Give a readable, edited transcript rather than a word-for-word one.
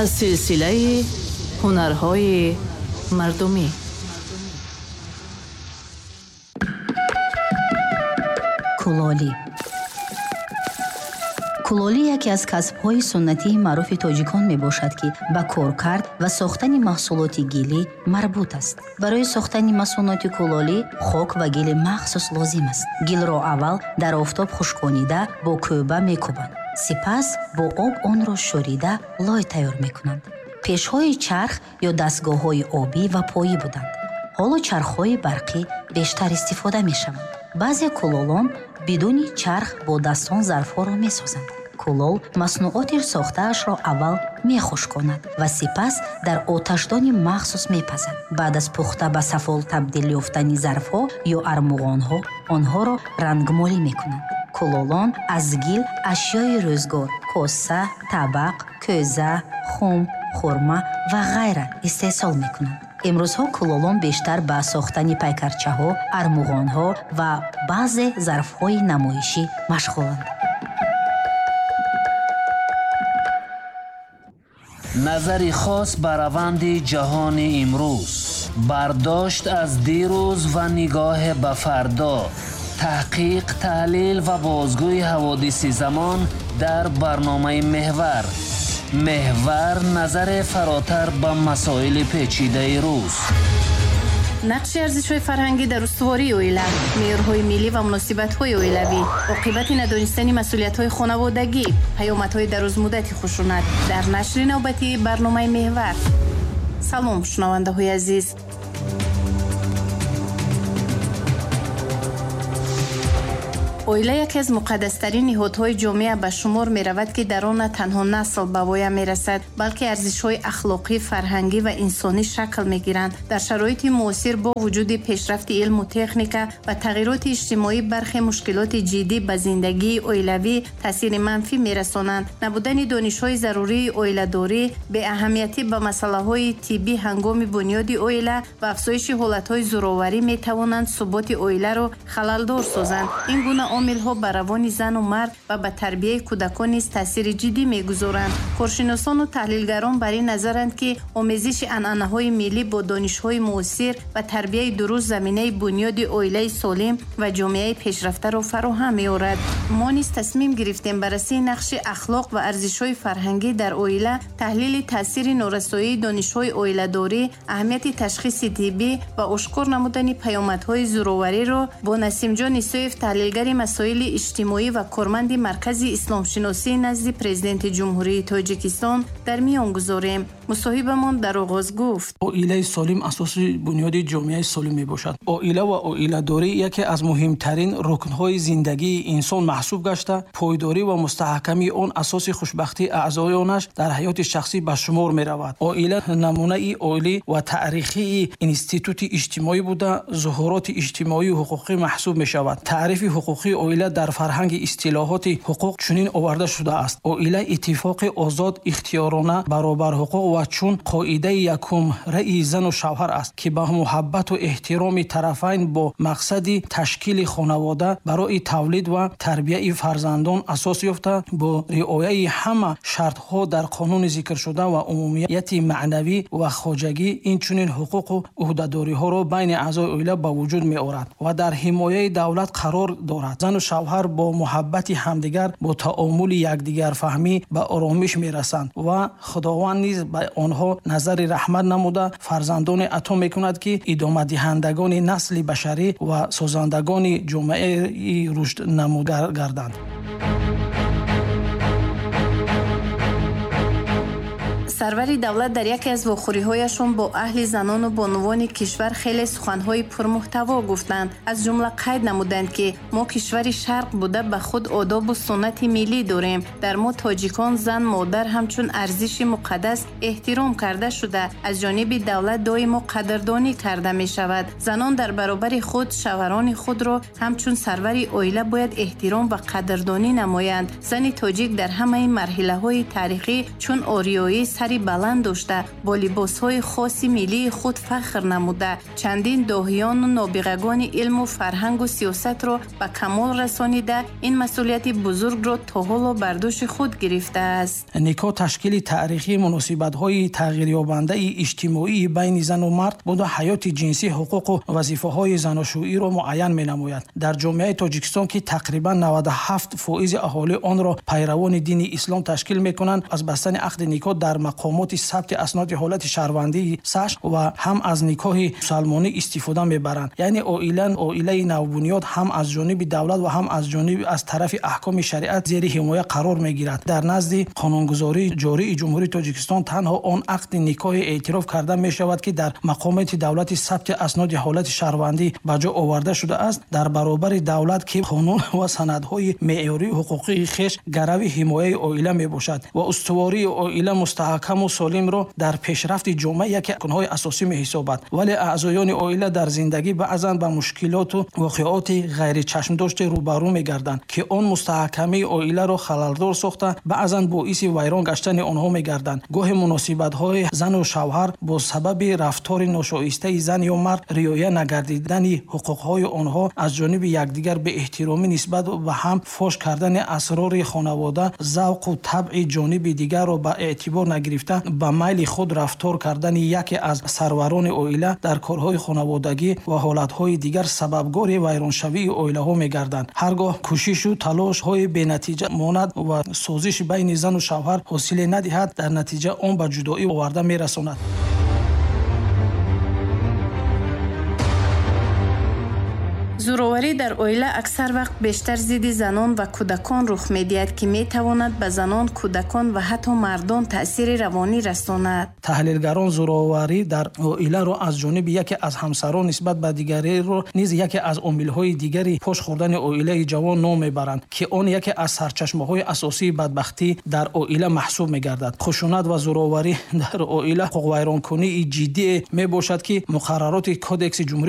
Аз силсилаи ҳунарҳои мардумӣ. Кулолӣ. Кулолӣ яке аз касбҳои суннатии маъруфи тоҷикон мебошад, ки ба коркард ва сохтани маҳсулоти гилӣ марбут аст. Барои сохтани масуноти кулолӣ хок ва гили махсус лозим аст. Гилро аввал дар офтоб хушконида бо кӯба мекӯбанд. Сипас бо об онро шӯрида лой тайёр мекунанд. Пешҳои чарх ё дастгоҳҳои обӣ ва поӣ буданд. Ҳоло чархҳои барқӣ бештар истифода мешаванд. Баъзе кулолон бидуни чарх бо дастон зарфҳоро месозанд. Кулол маснуоти сохтаашро аввал мехушконад ва сипас дар оташдони махсус мепазад. Баъд аз пухта ба сафол табдил ёфтани зарфҳо ё армуғонҳо онҳоро рангмолӣ мекунанд. Кулолон аз гил ашёи рӯзгор, коса, табақ, кӯза, хум, хурма ва ғайра истеҳсол мекунанд. Имрӯзҳо кулолон бештар ба сохтани пайкарчаҳо, армуғонҳо ва баъзе зарфҳои намоишӣ машғуланд. Назари хос ба раванди ҷаҳони имрӯз, бардошт аз дирӯз ва нигоҳе ба фардо, таҳқиқ, таҳлил ва бозгӯи ҳаводиси замон дар барномаи Меҳвар. Меҳвар назаре фаротар ба масоили печидаи рӯз. Нақши арзишҳои фарҳангӣ дар устувории оила, меъёрҳои миллӣ ва муносибатҳои оилавӣ, оқибати надонистани масъулиятҳои хонаводагӣ, паёмадҳои дарозмуддати хушунат дар нашри навбатии барномаи Меҳвар. Салом, шунавандаҳои азиз. Оила яке аз муқаддастарин ниҳодҳои ҷомеа ба шумор меравад, ки дар он на танҳо насл ба воя мерасад, балки арзишҳои ахлоқӣ, фарҳангӣ ва инсонӣ шакл мегиранд. Дар шароити муосир бо вуҷуди пешрафти илму техника ва тағйироти иҷтимоӣ бархе мушкилоти ҷиддӣ ба зиндагии оилавӣ таъсири манфӣ мерасонанд. Набудани донишҳои зарурии оиладорӣ, беаҳамиятӣ ба масъалаҳои тиббӣ ҳангоми бунёди оила ва афзоиши ҳолатҳои зӯроварӣ метавонанд суботи оиларо халалдор созанд. Ин гуна омилҳо ба равони зану мард ва ба тарбияи кӯдакон низ таъсири ҷиддӣ мегузоранд. Коршиносону таҳлилгарон бар ин назаранд, ки омезиши анъанаҳои миллӣ бо донишҳои муосир ва тарбияи дуруст заминаи бунёди оилаи солим ва ҷомеаи пешрафтаро фароҳам меорад. Мо низ тасмим гирифтем баррасии нақши ахлоқ ва арзишҳои фарҳангӣ дар оила, таҳлили таъсири норасоии донишҳои оиладорӣ, аҳамияти ташхиси тиббӣ ва ошкор намудани паёмадҳои зӯровариро бо Насимҷон Исоев, таҳлилгари масоили иҷтимоӣ ва корманди Маркази исломшиносии назди Президенти Ҷумҳурии Тоҷикистон дар миён гузорем. Мусоҳибамон дар оғоз гуфт: Оилаи солим асоси бунёди ҷомеаи солим мебошад. Оила ва оиладорӣ яке аз муҳимтарин рукнҳои зиндагии инсон маҳсуб гашта, пойдорӣ ва мустаҳкамии он асоси хушбахтии аъзоёнаш дар ҳаёти шахсӣ ба шумор меравад. Оила намунаи олӣ ва таърихии институти иҷтимоӣ буда, зуҳуроти иҷтимоию ҳуқуқӣ маҳсуб мешавад. Таърифи ҳуқуқии оила дар фарҳанги истилоҳоти ҳуқуқ чунин оварда шудааст: оила иттифоқи озод, ихтиёрона, баробарҳуқуқ ва чун қоидаи якум раъи зану шавҳар аст, ки ба муҳаббату эҳтироми тарафайн бо мақсади ташкили хонавода барои тавлид ва тарбияи фарзандон асос ёфта, бо риояи ҳама шартҳо дар қонуни зикршуда ва умумияти маънавӣ ва хоҷагӣ, инчунин ҳуқуқу ӯҳдадориҳоро байни аъзои оила ба вуҷуд меорад ва дар ҳимояи давлат қарор дорад. Зану шавҳар бо муҳаббати ҳамдигар, бо таомули якдигарфаҳмӣ ба оромиш мерасанд ва Худованд низ ба онҳо назари раҳмат намуда фарзандоне ато мекунад, ки идомадиҳандагони насли башарӣ ва созандагони ҷомеаи рушднамуда гарданд. Сарвари давлат дар яке аз вохӯриҳояшон бо аҳли занону бонувони кишвар хеле суханҳои пурмуҳтаво гуфтанд. Аз ҷумла қайд намуданд, ки мо кишвари шарқ буда ба худ одобу суннати миллӣ дорем. Дар мо тоҷикон зан модар ҳамчун арзиши муқаддас эҳтиром карда шуда, аз ҷониби давлат доимо қадрдонӣ карда мешавад. Занон дар баробари худ шавҳарони худро ҳамчун сарвари оила бояд эҳтиром ва қадрдонӣ намоянд. Зани тоҷик дар ҳамаи марҳилаҳои таърихӣ чун ориёӣ сари баланд дошта, бо либосҳои хоси миллии худ фахр намуда, чандин доҳиёну нобиғагони илму фарҳангу сиёсатро ба камол расонида, ин масъулияти бузургро то ҳоло бар дӯши худ гирифтааст. Никоҳ ташкили таърихии муносибатҳои тағйирёбандаи иҷтимоии байни зану мард буда, ҳаёти ҷинсӣ, ҳуқуқу вазифаҳои заношӯиро муайян менамояд. Дар ҷомеаи Тоҷикистон, ки тақрибан 97% аҳолӣ онро пайравони дини ислом ташкил мекунанд, аз бастани ақди никоҳ дар мақомоти сабти асноди ҳолати шаҳрвандии САШ ва ҳам аз никоҳи мусалмонӣ истифода мебаранд. Яъне оилаи навбунёд ҳам аз ҷониби давлат ва ҳам аз ҷониби аз тарафи аҳкоми шариат зери ҳимоя қарор мегирад. Дар назди қонунгузории ҷории Ҷумҳурии Тоҷикистон танҳо он ақди никоҳе эътироф карда мешавад, ки дар мақомоти давлати сабти асноди ҳолати шаҳрвандӣ ба ҷо оварда шудааст. Дар баробари давлат, ки қонун ва санадҳои меъёрии ҳуқуқии хеш гарави ҳимояи оила мебошад ва устувории оила мустаҳкаму солимро дар пешрафти ҷомеа яке рукнҳои асосӣ меҳисобад. Вале аъзоёни оила дар зиндагӣ баъзан ба мушкилоту воқеоти ғайричашмдоште рӯбарӯ мегарданд, ки он мустаҳкамии оиларо халалдор сохта, баъзан боиси вайрон гаштани онҳо мегарданд. Гоҳе муносибатҳои зану шавҳар бо сабаби рафтори ношоистаи зан ё мард, риоя нагардидани ҳуқуқҳои онҳо аз ҷониби якдигар, беэҳтиромӣ нисбат ба ҳам, фош кардани асрори хонавода, завқу табъи ҷониби дигарро ба эътибор нагирифта, ба майли худ рафтор кардани яке аз сарварони оила дар корҳои хонаводагӣ ва ҳолатҳои дигар сабабгори вайроншавии оилаҳо мегарданд. Ҳар гоҳ кӯшишу талошҳои бенатиҷа монад ва созиш байни зану шавҳар ҳосиле надиҳад, дар натиҷа он ба ҷудоӣ оварда мерасонад. Зӯроварӣ дар оила аксар вақт бештар зидди занон ва кӯдакон рух медиҳад, ки метавонад ба занон, кӯдакон ва ҳатто мардон таъсири равонӣ расонад. Таҳлилгарон зӯроварӣ дар оиларо аз ҷониби яке аз ҳамсарон нисбат ба дигареро низ яке аз омилҳои дигари пош хӯрдани оилаи ҷавон ном мебаранд, ки он яке аз сарчашмаҳои асосии бадбахтӣ дар оила маҳсуб мегардад. Хушунат ва зӯроварӣ дар оила ҳуқуқвайронкунии ҷиддие мебошад, ки муқаррароти Кодекси Ҷумҳурии